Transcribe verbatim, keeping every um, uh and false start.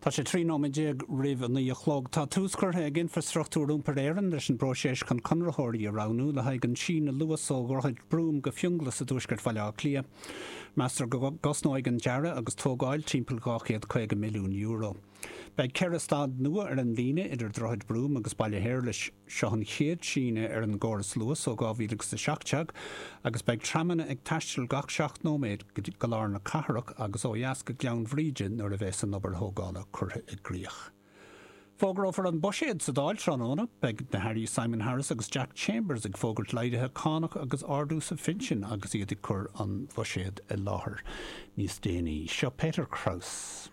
Tá sé trí nóiméad déag roimh a naoi a chlog. Tá tús curtha ag Infrastruchtúr Iompair Éireann leis an bpróiseas chun conraitheoirí a roghnú le haghaidh an síneadh Luas ó Dhroichead Brúm go Fionnghlas i dtuaisceart Bhaile Átha Cliath. Meastar go gcosnóidh an dearadh agus tógáil timpeall dhá chéad caoga milliún euro. Beidh ceithre stad nua ar an líne idir Droichead Brúm agus Baile Shéarlais. Seo an chéad síneadh ar an gcóras Luas ó dhá mhíle agus a seacht déag agus beidh tramanna ag taisteal gach seacht nóiméad go lár na cathrach agus ó dheas go Gleann Bhríde nuair a bheas an obair thógála curtha i gcrích. Fógrófar an buiséad sa Dáil tráthnóna. Beidh na hAirí Simon Harris agus Jack Chambers ag fógairt laghduithe cánach agus ardú sa phinsean agus iad ag cur an bhuiséid i láthair níos déanaí. Seo Peter Kraus.